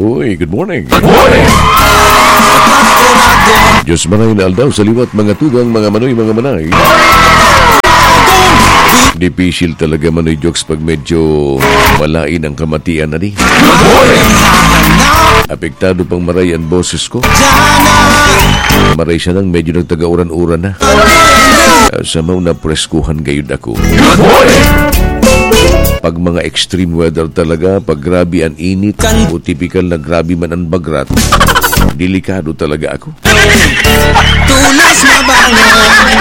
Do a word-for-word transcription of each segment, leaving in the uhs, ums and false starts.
Uy, good morning. Diyos manay na aldaw sa liwat, mga tugang, mga manoy, mga manay. Dipisil talaga, Manoy Jokes, pag medyo malain ang kamatian na di. Apektado pang maray ang boses ko. Maray siya nang medyo nagtaga-uran-uran na. Ah, sa mga napreskuhan gayud ako. Pag mga extreme weather talaga, pag grabe ang init, o tipikal na grabe man ang bagrat, delikado talaga ako. Tulos na bangon,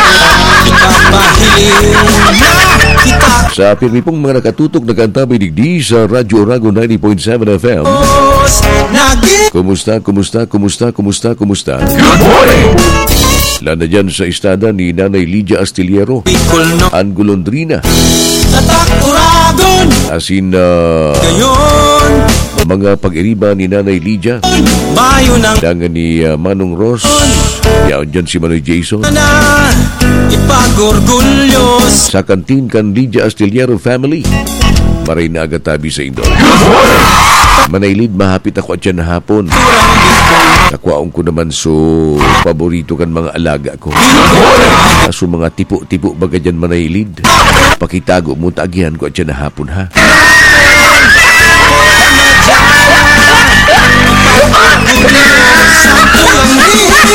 ipapahiling na kita. Sa pirmi pong mga nakatutok, nakaantabay digdi sa Radyo Oragon ninety point seven F M. Naging Kumusta, kumusta, kumusta, kumusta, kumusta? Good morning! Lana dyan sa istada ni Nanay Lydia Astillero, Bicol, no? Ang Golondrina. Tatak Oragon! Asin, ah, Gayon! Mga pag-iriba ni Nanay Lydia. Bayo ng Dangan ni, ah, Manong Ross. Yaon dyan si Manoy Jason. Na ipag-orgulyo sa Sa kantin kan Lydia Astillero family. Maray na aga tabi sa indo. Manaylid, mahapit ako at yan hapon. Nakwaon ko naman so paborito kan mga alaga ko. Aso mga tipo-tipo baga dyan, Manaylid. Pakitago mo, taagihan ko at yan hapon, ha?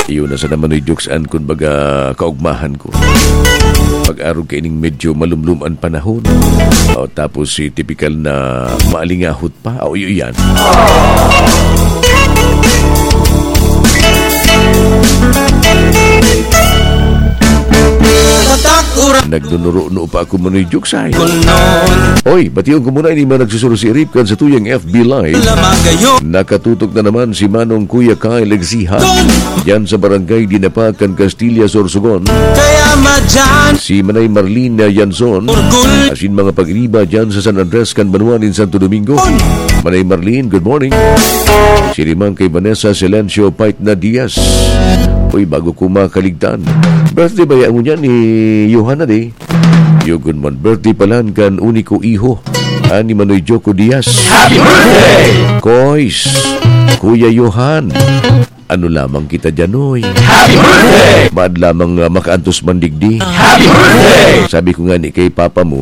Iyon na sa naman, Noy Jokes, an kun baga kaugmahan ko. Pag-arog kaining medyo malumlom an panahon. O, tapos si tipikal na maalingahot pa. O, iyo yan. Tatak Oragon. Nagnunuruno pa ako, Manoy Jokes, ay. Kunon. Oy, bation ko muna ini mga nagsusurusirip kan sa tuyang F B Live. Lamagayo. Nakatutok na naman si Manong Kuya Kyle Exiha. Kun. Diyan sa Barangay Dinapac kan Castilla, Sorsogon. Kaya madyan. Si Manay Marlene Yanson. Orgul. Asin mga pag-iriba diyan sa San Andres kan banwa nin Santo Domingo. Kun. Manay Marlene, good morning. Siriman kay Vanessa Silencio Paitna Diaz. Uy, bago ko makaligtan. Birthday ba yan ngunyan ni Johanna Day? Yugon man, birthday palan kan uniko iho, ani Manoy Joko Diaz. Happy birthday! Koys, Kuya Johan, ano lamang kita dyan, oy? Happy birthday! Maad lamang, ah, makaantos man digdi. Happy birthday! Sabi ko nga ni kay papa mo,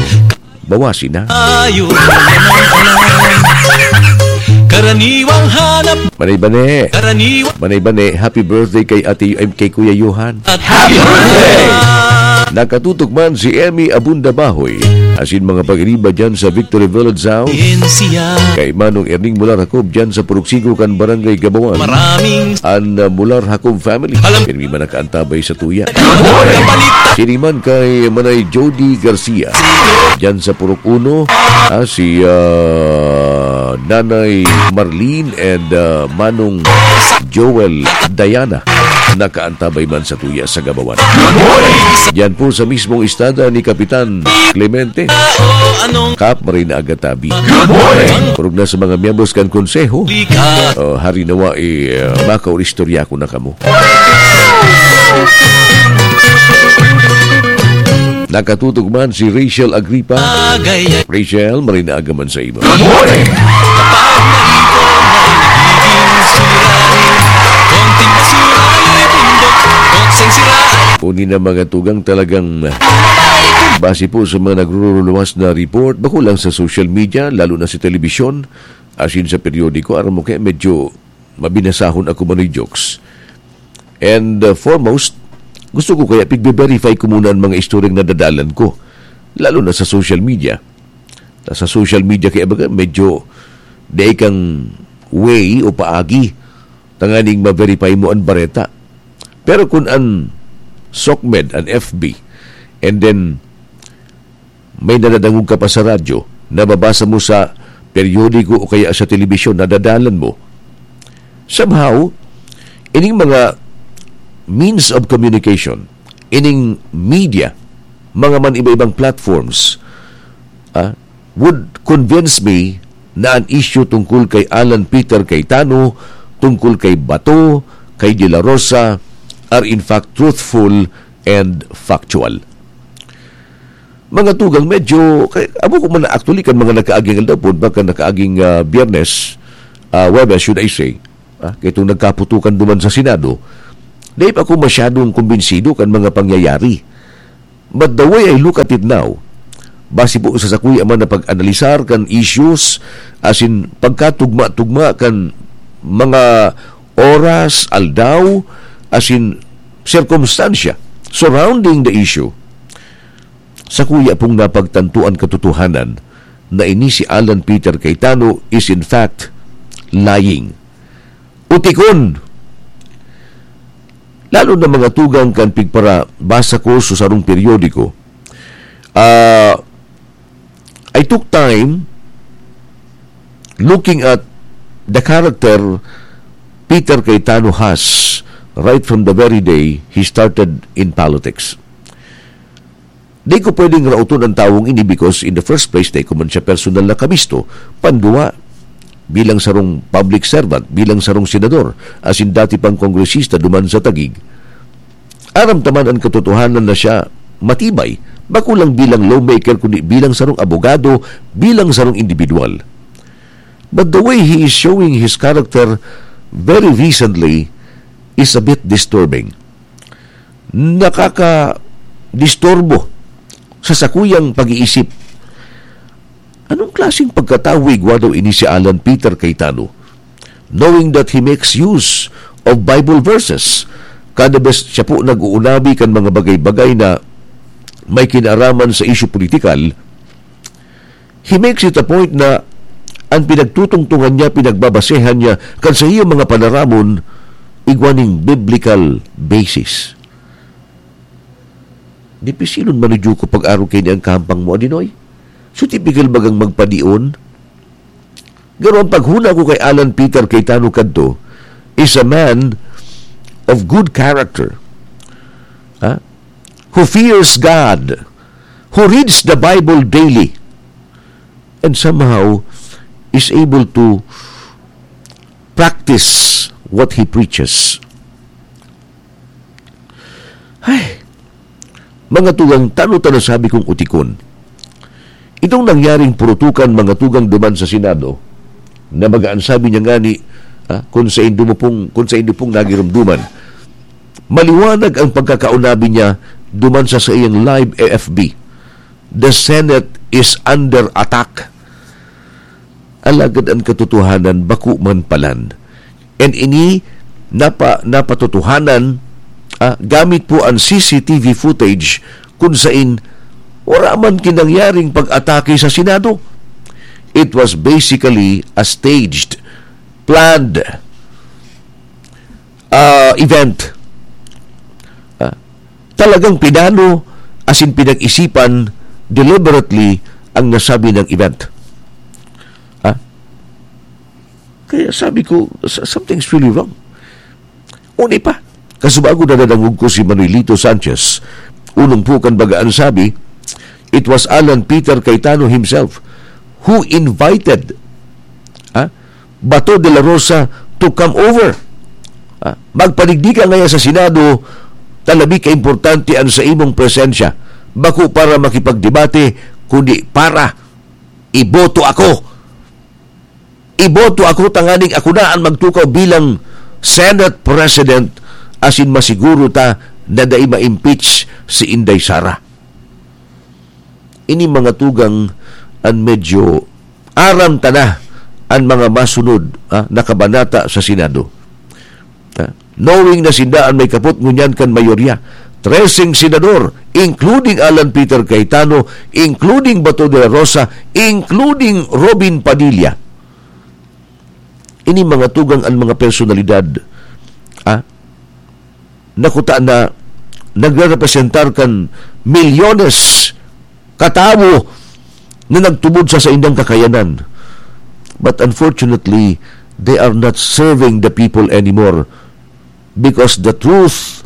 bawasi na. Ayo. Karaniwang hanap. Manay Bane. Karaniwang Manay Bane, happy birthday kay Ate, ay, kay Kuya Johan. Happy birthday! Nakatutok man si Emmy Abunda Bahoy, asin mga pag-iriba dyan sa Victory Village South. Kay Manong Erning Mular Jacob dyan sa Purok Sigo kan Barangay Gabawan. Maraming An, uh, Mular Jacob family. Alam Pirmi man nakaantabay sa tuya. Siriman kay Manay Jody Garcia dyan sa Purok Uno. Ah, si, uh, Nanay Marlene and, uh, Manong Joel Diana nakaantabay man sa tuya sa Gabawan. Diyan po sa mismong istada ni Kapitan Clemente. Kap, maray na aga tabi. Kurog na sa mga miyembros kan konseho. Oh, hari nawa, eh, makauristorya ko na kamo. Nakatutok man si Rachel Agripa. Rachel, maray na aga man sa imo. Good morning! Uni na mga tugang talagang base po sa mga nagruruluwas na report, bako lang sa social media, lalo na sa telebisyon, asin sa periodiko, aram mo kaya medyo mabinasahon ako, Manoy Jokes. And, uh, foremost, gusto ko kaya pigbe-verify ko muna ang mga istoryang nadadalan ko, lalo na sa social media. Na sa social media kaya baga medyo dai kang way o paagi tanganing ma-verify mo an bareta. Pero kun an SOCMED, an F B, and then may nadadangog ka pa sa radyo, nababasa mo sa periodiko o kaya sa telebisyon, nadadalan mo. Somehow, ining mga means of communication, ining media, mga man iba-ibang platforms, ah, would convince me na an issue tungkol kay Alan Peter Cayetano, tungkol kay Bato, kay De La Rosa, are in fact truthful and factual. Mga tugang, medyo, kay, abo ko man na actually kan mga nakaaging aldaw po, baka nakaaging, ah, Biyernes, ah, Huwebes, should I say, ah, kay itong nagkaputukan duman sa Senado, dai pa ako masyadong kumbinsido kan mga pangyayari. But the way I look at it now, base po sa sakuya man na pag-analisar kan issues, as in, pagkatugma-tugma kan mga oras, aldaw, as in, sirkumstansya surrounding the issue, sakuya pong napagtanto an katotohanan na ini si Alan Peter Cayetano is in fact lying. Utikon! Lalo na mga tugang kan pigparabasa ko sa sarong periodiko. Ah, I took time looking at the character Peter Cayetano has right from the very day he started in politics. Di ko pwedeng raoton ang tawong ini because in the first place, di ko man siya personal na kabisto. Pandua, bilang sarong public servant, bilang sarong senador, as in dati pang kongresista duman sa Taguig, aram ta man an katotohanan na siya matibay, bako lang bilang lawmaker, kundi bilang sarong abogado, bilang sarong individual. But the way he is showing his character very recently is a bit disturbing. Nakakadisturbo sa sakuyang pag-iisip. Anong klaseng pagkatawo igwa daw ini si Alan Peter Cayetano? Knowing that he makes use of Bible verses, kada bes siya po nag-uunabi kan mga bagay-bagay na may kinaraman sa isyu politikal, he makes it a point na an pinagtutungtungan niya, pinagbabasehan niya kan sa iyang mga panaramon, igwa ning biblical basis. Dipisilon man ni Juko pag-arog kaini an kahampang mo, Adinoy. So, tipikal bagang magpadion? Garo ang paghuna ko kay Alan Peter Cayetano kadto is a man of good character, ha? Who fears God, who reads the Bible daily, and somehow is able to practice what he preaches. Ay, mga tugang, tano ta nasabi kong utikon. Itong nangyaring purutukan, mga tugang, duman sa Senado, na magaan sabi niya ngani, ah, kung sa indo mo pong, kung sa indo pong nagirumduman, maliwanag ang pagkakaunabi niya duman sa saiyang live A F B. The Senate is under attack. Alagad an katotohanan bako man palan. And ini napa-, napatotohanan, ah, gamit po an C C T V footage kun sain wala man kinangyaring pag-atake sa Senado. It was basically a staged, planned, ah, event. Ah, talagang pinano, as in pinag-isipan deliberately ang nasabi ng event. Ah, kaya sabi ko, "S-, something's really wrong." Uni pa, kasubago na nadangog ko si Manuelito Sanchez, unong po kan baga an sabi, it was Alan Peter Cayetano himself who invited, ah, Bato de la Rosa to come over. Ah, magpadigdi ka ngaya sa Senado, talabi ka importante an sa imong presensya. Bako para makipagdebate, kundi para iboto ako. Iboto ako tanganing ako na an magtukaw bilang Senate President, asin masiguro ta na dai ma-impeach si Inday Sara. Ini mga tugang an medyo aram ta na an mga masunod, ah, na kabanata sa Senado. Ah, knowing na sinda an may kapot ngunyan kan mayorya, treseng senador, including Alan Peter Cayetano, including Bato de la Rosa, including Robin Padilla. Ini mga tugang an mga personalidad, ah, nakuta na nagrerepresentar kan milyones katawo na nagtubod sa saindang kakayanan. But unfortunately, they are not serving the people anymore because the truth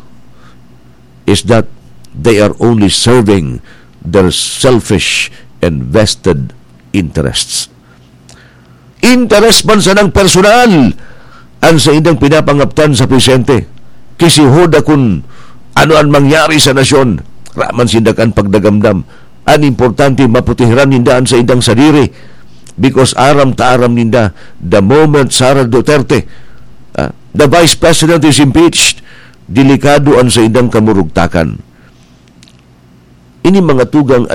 is that they are only serving their selfish and vested interests. Interes man sanang personal an saindang pinapangaptan sa presente. Kisihoda kun ano an mangyari sa nasyon, raman sinda kan pagdagamdam. An importante, maprotehiran ninda an saindang sadiri. Because aram ta aram ninda, the moment Sara Duterte, ah, the Vice President is impeached, delikado an saindang kamurugtakan. Ini mga tugang